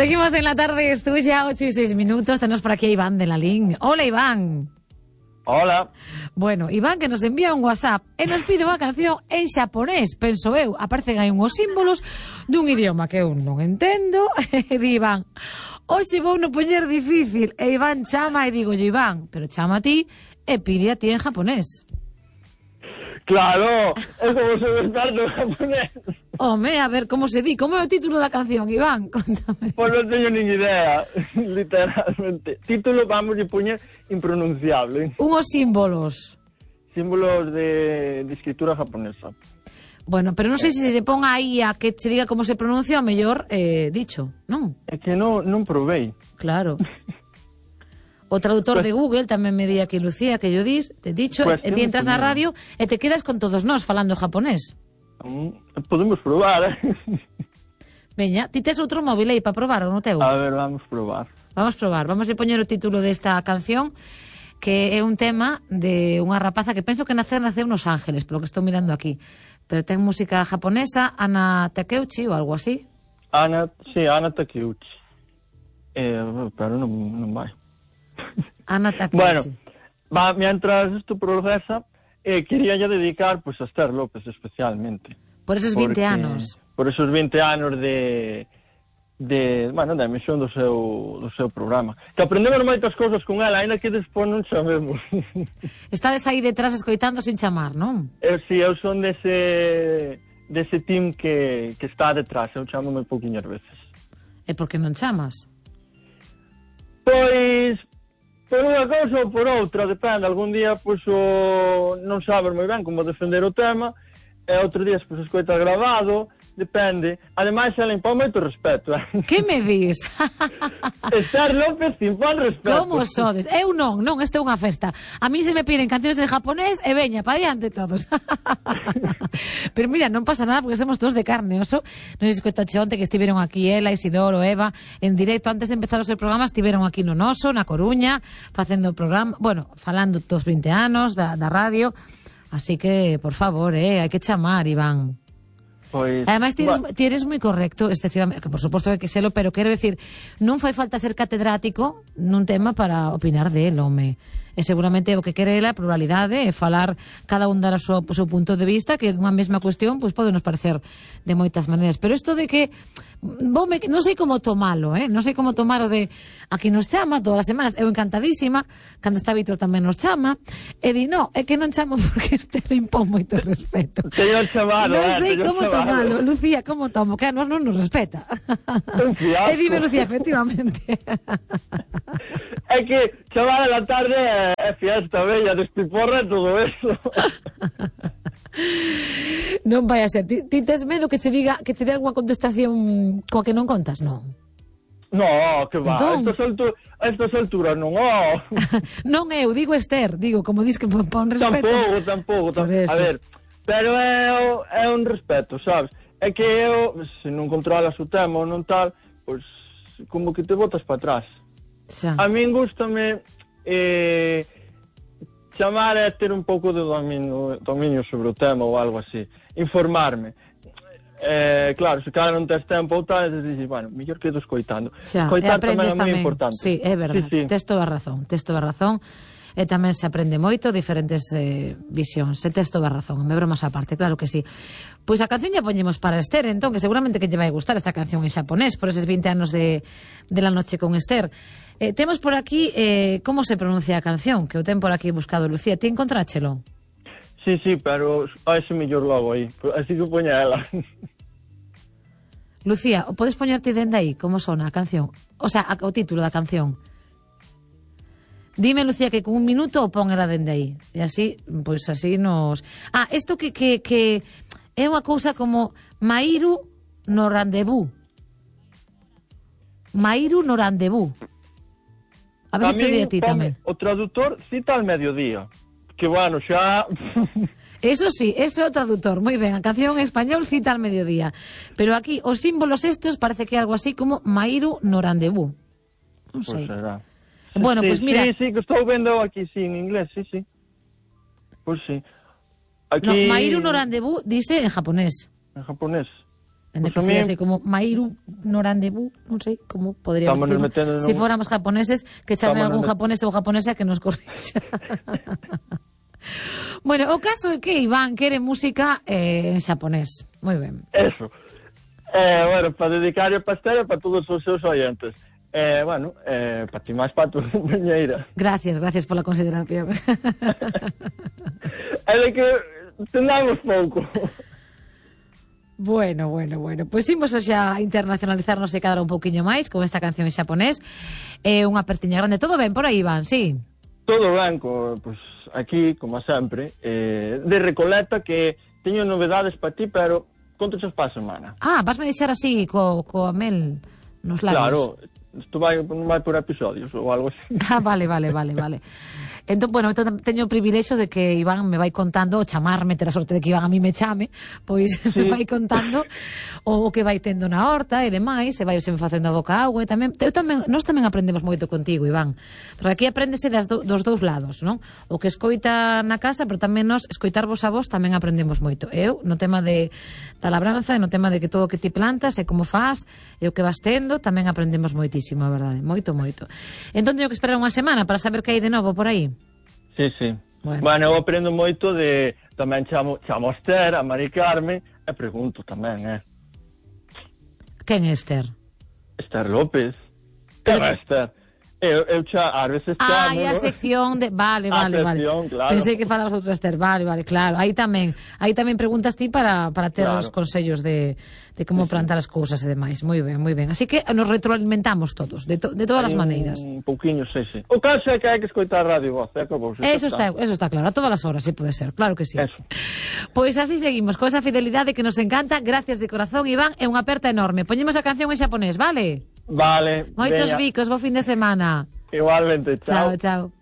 Seguimos en la tarde, esto ya 8:06. Tenemos por aquí a Iván de la LIN. Hola, Iván. Hola. Bueno, Iván que nos envía un WhatsApp e nos pide unha canción en xaponés, penso eu, aparecen aí unhos símbolos dun idioma que eu non entendo, e di Iván, hoxe vou no poñer difícil, e Iván chama e digo, Iván, pero chama a ti e pide a ti en japonés. Claro, é como se desperto en japonés. Home, a ver, como se di? Como é o título da canción, Iván? Contame. Pois non teño nin idea, literalmente. Título vamos a poñer impronunciable. Unhos símbolos. Símbolos de escritura japonesa. Bueno, pero non sei se se pon aí a que se diga como se pronuncia o mellor dicho, non? É que non provei. Claro. O traductor de Google tamén me di aquí, Lucía, que yo dis, te dicho, Pues e ti entras na radio e te quedas con todos nós falando japonés. Podemos probar, Veña, ti tes outro móvil aí para probar ou non teu? A ver, vamos probar. Vamos probar, vamos a poñer o título desta canción, que é un tema de unha rapaza que penso que naceu nos Ángeles, polo que estou mirando aquí. Pero ten música japonesa, Ana Takeuchi ou algo así. Ana Takeuchi. Pero non vai. Ana Takeuchi. Bueno, mientras esto procesa, quería ya dedicar pues a Esther López especialmente. Por esos 20 anos. Por esos 20 anos de emisión do seu programa. Que aprendemos moitas cousas con ela, ainda que despois non sabemos. Estades aí detrás escoitando sin chamar, non? Eu son dese team que está detrás, eu chamo moi pouquiñas veces. E por que non chamas? Pois, por unha cousa ou por outra, depende. Algún día, pois, non sabes moi ben como defender o tema, e outro día, pois, escoitas grabado, depende. Ademais, ela impón moito respeto, Que me dis? Esther López impón respeto. Como sodes? Eu non, esta é unha festa. A mí se me piden cancións en japonés e veña, pa diante todos. Pero mira, non pasa nada porque somos todos de carne e oso. Non sei se escoitaxe onte que estiveron aquí ela, Isidoro, Eva, en directo antes de empezar o seu programa, estiveron aquí no Noso, na Coruña, facendo o programa, bueno, falando dos 20 anos da radio. Así que, por favor, hai que chamar, Iván. Pois, ademais, ti eres moi correcto excesivamente, que por suposto que selo, pero quero decir, non fai falta ser catedrático nun tema para opinar del, home. E seguramente o que quere ela é pluralidade e falar cada un dar o seu punto de vista, que unha mesma cuestión pois pode nos parecer de moitas maneiras, pero isto de que non sei como tomalo, non sei como tomar o de aquí nos chama todas as semanas, eu encantadísima, cando está Víctor tamén nos chama, e di, no, é que non chamo porque este le impón moito respeto. Teño chamado, non sei como tomalo, Lucía, como tomo, que a nos non nos respeta. E dime, Lucía, efectivamente. É que chamar a la tarde é fiesta bella, despiporra e todo eso. Non vai a ser. Ti tes medo que che diga, que te dé algunha contestación coa que non contas? Non. No, que va, a estas alturas non, Non eu, digo Esther, digo, como dis que pon respeto. Tampouco. A ver, pero é un respeto, sabes? É que eu, se non controlas o tema ou non tal, pois, como que te botas para atrás. Xa. A min gústame chamar é ter un pouco de dominio sobre o tema ou algo así, informarme. Claro, se cada non tes tempo ou tal, dices, bueno, mellor quedo escoitando. Escoitar tamén é moi importante. Sí, é verdade, sí. Tes toda a razón. E tamén se aprende moito, diferentes visións. Se tes toda a razón, me bromas aparte, claro que sí. Pois a canción ya poñemos para Esther, entón, que seguramente que lle vai gustar esta canción en xaponés, por eses 20 anos de la noche con Esther. Temos por aquí como se pronuncia a canción, que o ten por aquí buscado Lucía. Ti encontráchelo? Sí, pero a ese mellor logo aí, así que poña ela. Lucía, o podes poñerte dende aí como sona a canción? O sea, o título da canción. Dime, Lucía, que con un minuto o pon ela dende aí. E así, pois así nos... isto que é unha cousa como Mairu no rendezvous. Mairu no rendezvous. A ver se di a ti tamén. O traductor cita al mediodía. Que bueno, xa... Eso sí, ese é o traductor. Moi ben, a canción en español cita al mediodía. Pero aquí, os símbolos estes parece que é algo así como Mairu no rendezvous. Non sei. Pois será. Bueno, pues mira... Sí, que estou vendo aquí, sí, en inglés, sí. Pois sí. Aquí... No, Mairu no rendezvous dice en japonés. En japonés. En que sea así como Mairu Norandebu, non sei como podríamos decir. Si fóramos japoneses, que chame algún japonés ou japonesa que nos corrixa. Bueno, o caso é que Iván quere música en xaponés. Moi ben. Eso. Bueno, para dedicar a Pastera para todos os seus oyentes. Bueno, para ti máis para tu compañeira. Gracias pola consideración. É de que tendamos pouco. Bueno. Pois imos xa internacionalizarnos e cadrar un pouquiño máis con esta canción en xaponés. Unha apertiña grande. Todo ben por aí, Iván, sí? Todo ben, pues aquí, como sempre, de Recoleta, que teño novedades para ti, pero contochas para a semana. Vasme deixar así, co mel nos labios. Claro, isto vai por episodios ou algo así. Vale. Entón, bueno, teño o privilexio de que Iván me vai contando, o chamarme, ter a sorte de que Iván a mí me chame, pois sí. Me vai contando o que vai tendo na horta e demais, e vai se me facendo a boca agua, e nós tamén aprendemos moito contigo, Iván, porque aquí apréndese dos dous lados, non? O que escoita na casa, pero tamén nós escoitarvos a vos tamén aprendemos moito. Eu, no tema da labranza, e no tema de que todo o que ti plantas e como faz, e o que vas tendo, tamén aprendemos moitísimo, a verdade, moito. Entón teño que esperar unha semana para saber que hai de novo por aí. Sí. Bueno, eu aprendo moito de... Tamén chamo a Esther, a Mari Carmen, e pregunto tamén, Quen é Esther? Esther López. Quen é Esther? Eu ás veces chamo... a sección de... Vale. Sección, claro. Pensei que falabas de outra Esther. Vale, claro. Aí tamén preguntas ti para ter os consellos de como plantar as cousas e demais. Moi ben. Así que nos retroalimentamos todos, de todas as maneiras. Un pouquiño, sí. O caso é que hai que escoitar a Radio Voz, Eso está claro, a todas as horas, se pode ser, claro que sí. Eso. Pois así seguimos, con esa fidelidade que nos encanta. Gracias de corazón, Iván, é unha aperta enorme. Poñemos a canción en xaponés, vale? Vale. Moitos bicos, bo fin de semana. Igualmente, chao. Chao.